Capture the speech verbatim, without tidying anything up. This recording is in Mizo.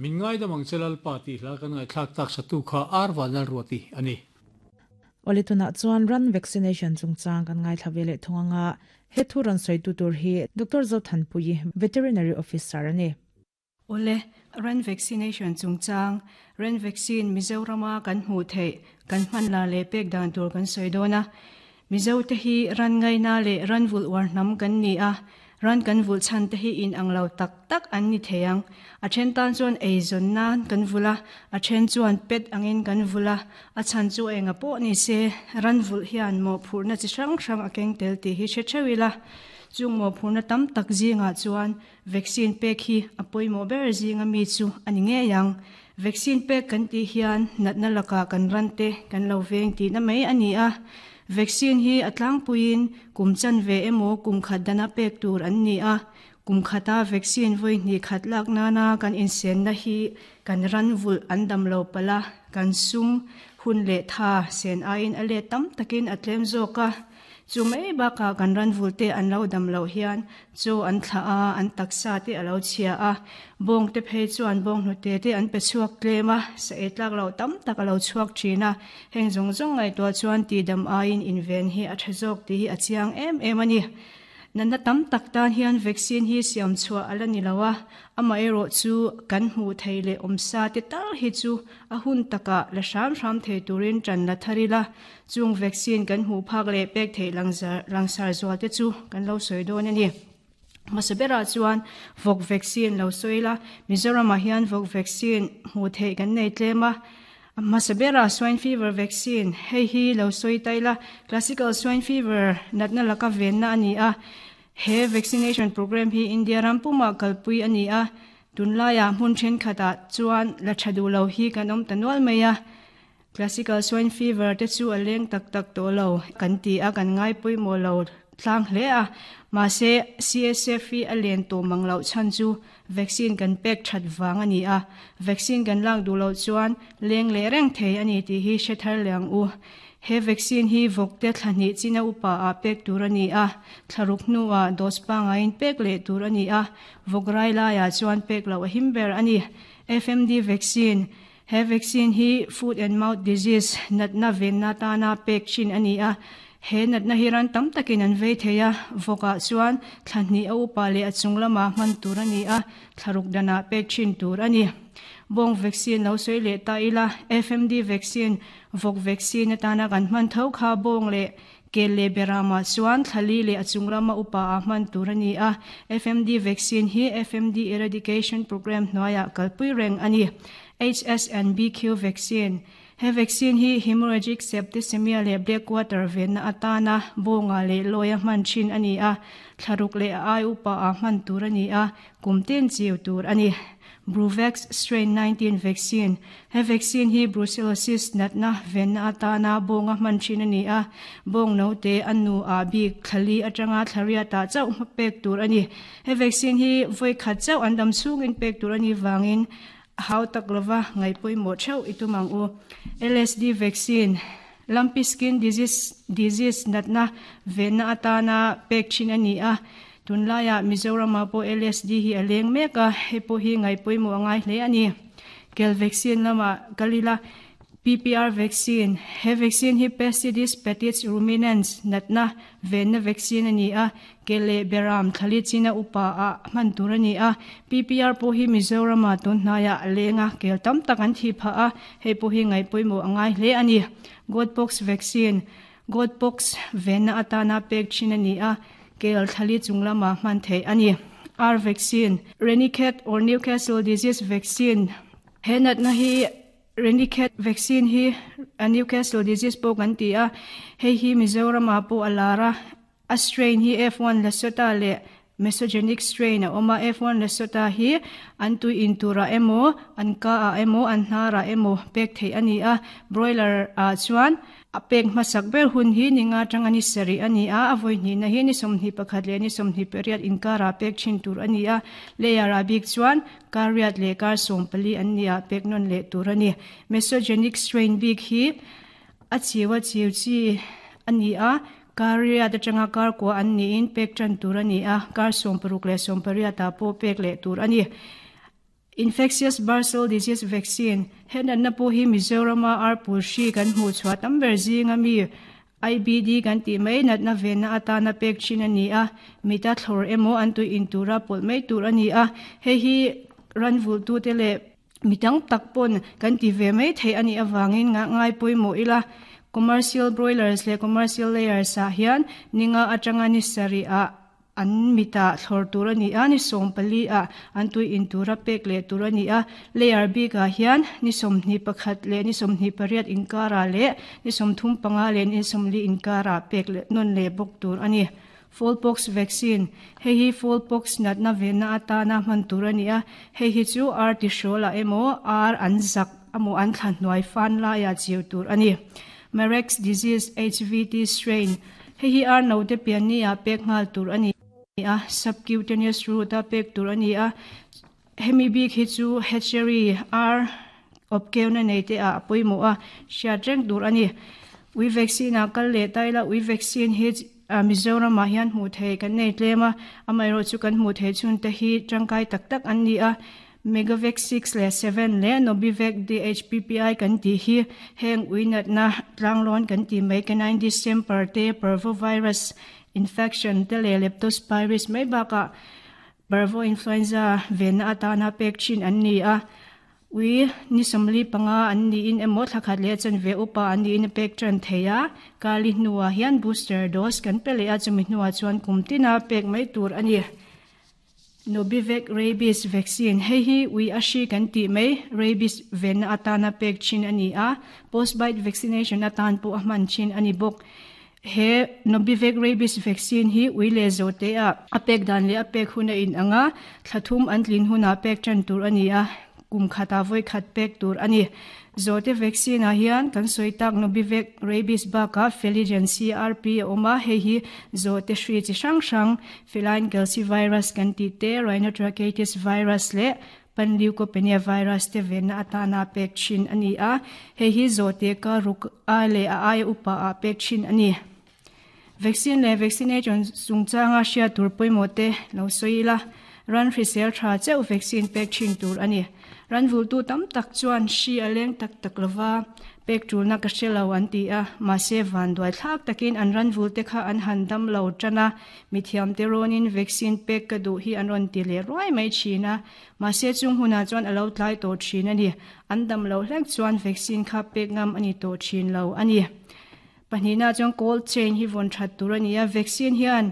Min ngai da mang chelal pa ti hla kan ngai thlak tak satu kha arwa nal ruati ani. Olituna chuan ran vaccination chungchang kan ngai thlavele thunganga he thu ran soi tu tur hi Doctor Zothanpui, veterinary officer ani. Ole, ran vaccination chungchang, ran vaccine Mizorama kan hmu thei kan hman la le pek dan tur kan soi dona. Mizo te hi ran ngai na le ran vul war nam kan ni a. Ran kan vul chan te hi in ang lo tak tak an ni theyang. A then tan chuan ei zon nan kan vula, a then chuan pet angin kan vula, a chan chu enga po ni se ran vul hian mo phurna chi hrang hrang a keng tel ti hi che chewila. Chung mo phurna tam tak zinga chuan vaccine pek hi apoi mo ber zinga mi chu ani nge yang. Vaccine pek kan ti hian natna laka kan ran te kan lo veng ti na mai ani a. Vaccine hi atlang puin kum chan ve emo kum khat dana pek tur an ni a. Kum khata vaccine voi ni khat lak na na kan insen na hi kan ran vul an dam lo pala kan sum hun le tha sen ain ale tam takin atlem zoka. Chu mai ba ka kan ran vul te an lo dam lo hian chu an thla a an taksa te alo chhia a bong te phei chuan bong hnu te te an pe chuak tlema sa etlak lo tam tak alo chuak thina. Heng zong zong ngai to chuan ti dam ain inven hi a thazok ti hi a chiang em em ani. Nana tam tak tan hian vaccine hi siam chua ala ni lawa ama ero chu kan hmu theile omsa te tal hi chu a hun taka la hram hram thei turin tran la tharila. Chung vaccine kan hmu phak le pek thei langzar langsar zual te chu kan lo soi don ani. Masabera chuan vok vaccine lo soila. Mizoram ah hian vok vaccine hmu thei kan nei tlema. Masabera swine fever vaccine hei hi lo soi taila. Classical swine fever natna laka ven na ani a. He vaccination program hi India rampuma kalpui ani a. Tunlaya hmun then khata chuan la thadu lo hi kanom tanwal maya. Classical swine fever te chu aleng tak tak to lo kan ti a kan ngai pui mo lo tlang hle a. Ma se C S F hi alen to manglo chan chu vaccine kan pek that wang ani a. Vaccine kan lak du lo chuan leng le reng thei ani ti hi shethar leng u. He vaccine hi vokte thlani china upa a pek tur ani a. Thlaruk nuwa dos pa ngain pek le tur ani a. Vokrai la ya chuan pek lo a himber ani. F M D vaccine, he vaccine hi foot and mouth disease natna ven na ta na pek chin ani a. He natna hi ran tam takin an vei theia. Voka chuan thlani a upa le a chunglama man tur ani a, thlaruk dana pek chin tur ani. Bong vaccine lo soi le ta ila. F M D vaccine, vok vaccine atana kan man tho kha bong le ke le berama chuan thlali le achunglama upa a man tur ani a. F M D vaccine hi F M D eradication program hnuaia kalpui reng ani. H S N B Q vaccine, he vaccine hi hemorrhagic septicemia le black water ven na atana bonga le loya man chin ani a. Thlaruk le ai upa a man tur ani a, kumten chiu tur ani. Bruvax strain nineteen vaccine, he vaccine hi brucellosis natna ven na atana bonga man chin ani a. Bong no te anu a bi khali atanga thlaria ta chau ma pek tur ani. He vaccine hi voi khat chau andam chung in pek tur ani wangin hau tak lova ngai pui mo theu itumang u. L S D vaccine, lumpy skin disease disease natna ven na atana pek chin ani a. Tunlaya Mizoram po L S D hi aleng meka, he po hi ngai pui mo ngai hle ani. Kel vaccine lama kalila. P P R vaccine, he vaccine hi Pestitis petits ruminants natna ven na vaccine ani a. Kele beram thali china upa a man tur ani a. P P R po hi Mizoram a tun hnaya alenga, kel tam tak an thi pha a, he po hi ngai pui mo angai hle ani. Goatpox vaccine, goatpox ven na atana pek chin ani a, kel thali chunglama man thei ani. R vaccine, Ranikhet or Newcastle disease vaccine, he nat na hi Ranikhet vaccine hi a Newcastle disease po kan ti a. Hei hi Mizoram a po alara a. Strain hi F one Lasota le mesogenic strain a oma. F one Lasota hi an tu in tura emo, an ka a emo, an hnara emo pek thei ani a. Broiler a chuan a pek masak ber hun hi ninga tang ani seri ani a. Avoi ni na hi ni somni pakhat le ni somni period inkara pek chin tur ani a. Layer a bik chuan kariat le kar som pali an ni a, pek non le tur ani. Mesogenic strain bik hi a chiwa chiu chi ani a, karia te changa kar ko an ni in pek chan tur ani a, kar som paruk le som paria ta po pek le tur ani. Infectious bursal disease vaccine henan na po hi Mizorama ar pul hri kan hmu chhuah tam ber zinga mi I B D kan ti mai nat na ve na atana pek chin ani a mita thlor emo an tu in tura pol mai tur ani a he hi ran vul tu te le mitang takpon kan ti ve mai thei ani awangin nga ngai pui mo ila commercial broilers le commercial layers a hian ninga atanga ni sari a an mita thlor tur ani a ni som pali a an tu in tura pek le tur ani a layer bi ka hian ni som ni pakhat le ni som ni pariat inkara le ni som thum panga le ni som li inkara pek le non le bok tur ani. Fowlpox vaccine he hi fowlpox nat na ve na ata na man tur ani a he hi chu r ti shola emo r an zak amo an thlan noi fan la ya chiu tur ani. Marek's disease H V T strain he hi r no te pian ni a pek ngal tur ani a subcutaneous route a pek tur ani a hemi bi khi chu hatchery r opkeu na nei te a poimo a sha reng tur ani. Ui vaccine a kal le taila ui vaccine hi Mizoram ma hian hmu thei kan nei tlema amai ro chu kan hmu thei chun te hi tangkai tak tak an ni a Megavac six le seven le Nobivac D H P P I kan ti hi heng uinat na tlanglon kan ti mai canine distemper te parvovirus infection te le leptospirosis mai baka parvo influenza ven atana pek chin an ni a ui ni somli panga an ni in emo thakhat le chan ve upa an ni in pek tran theya kali nuwa hian booster dose kan pele a chumi nuwa chuan kumtina pek mai tur ani. Nobivac rabies vaccine hei hi ui ashi kan ti mai rabies ven atana pek chin ani a post bite vaccination atan pu ahman chin ani bok he Nobivac rabies vaccine hi ui le zo te a apek dan le apek huna in anga thlathum an tlin huna pek tran tur ani a kum khata voi khat pek tur ani. Zote vaccine a hian kan soitak Nobivac rabies ba ka Feligen C R P oma he hi zote hri chi hrang hrang feline calcivirus kan ti te rhinotracheitis virus le panleukopenia virus te ven atana pek chin ani a he hi zote ka ruk a le a ai upa a pek chin ani. Vaccine le vaccination chungchanga hria tur poimo te lo soila ran hrisel tha cheu vaccine pek chin tur ani. Ran vul tu tam tak chuan shi aleng tak tak lova pek tul na ka hrelo an ti a ma se van duai thlak takin an ran vul te kha an han dam lo tana mithiam te ronin vaccine pek ka du hi an ron ti le roi mai china ma se chung huna chuan alo tlai to thin ani an dam lo hlek chuan vaccine kha pek ngam ani to thin lo ani. Panina chuan cold chain hi von that tur ani a vaccine hian